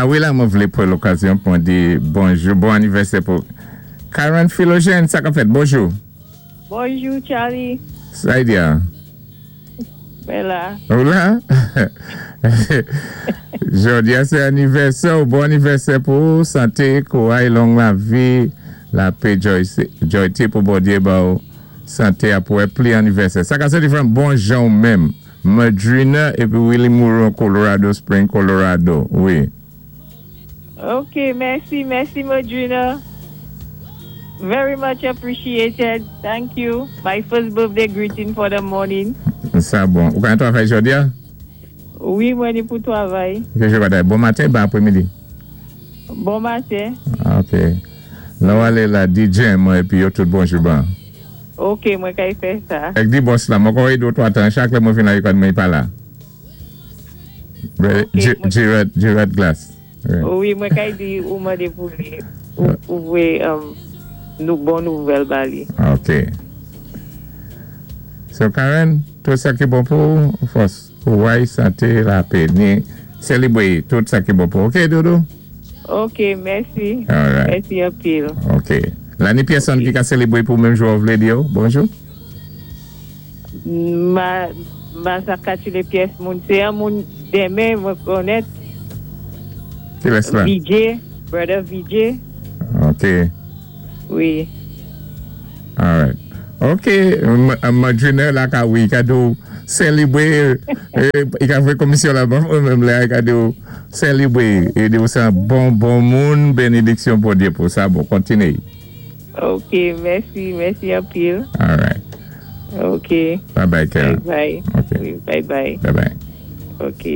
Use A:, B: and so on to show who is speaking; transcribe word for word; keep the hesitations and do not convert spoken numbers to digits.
A: A wi, la, mwen vlé pwan lokazyon pou di bonjou, bon anivèsè pou Karen Philogène, sa ka fèt, bonjou.
B: Bonjou, Charlie.
A: Sa y di an?
B: Mwen la.
A: Ou la? Jodi a sé anivèsè ou, bon anivèsè pou santé, kouray, long lavi, lapè, joyté pou Bondyé ba ou, santé apwé pli anivèsè. Sa ka sé diferan bon jan ou menm, Madrina épi Willie Moreau, Colorado Spring, Colorado, wi.
B: Ok, mèsi, mèsi, Madrina. Very much appreciated. Thank you. My first birthday greeting for the morning.
A: Sa bon. Ou ka travay jodi a?
B: Wi, mwen ni pou travay.
A: Ok, je va bon maten, bon apwémidi?
B: Bon maten.
A: Ok. La ou alé la di Jem mwen épi yo tout bonjou ban.
B: Ok, mwen kay fè sa.
A: Ek di boss la, mwen kon wè do twa tan, chak lè mwen fin la yon mwen pa la. Gerard, Gerard Glass.
B: Wi, mwen kay di ou mande pou li, ou vwé nou bon nouvèl ba li.
A: Ok. So Karen, tout sa ki bon pou, fòs, kouray, santé, lapè, ni sélébwé, tout sa ki bon pou. Ok, Doudou?
B: Ok, mèsi.
A: Alright.
B: Mèsi anpil.
A: Ok. La ni pyèsonn ki ka sélébwé pou menm jou ou vlé di yo? Bonjou?
B: Ma, ma sa katile pyès moun. Sé an moun denmen mwen konnèt.
A: Ki lès la?
B: V J, brother V J.
A: Ok.
B: Wi.
A: Alright. Ok, Madrina la ka wi, ka do sélébwé, i ka fè komisyon la ban, ou menm la, ka do sélébwé, e di ou sé an bon, bon moun, bénédiksyon Bondyé pou sa, bon, kontiné.
B: Ok, mèsi, mèsi anpil.
A: Alright.
B: Ok.
A: Bye bye, Karen.
B: Bye bye.
A: Ok.
B: Wi, bye bye.
A: Bye bye.
B: Ok.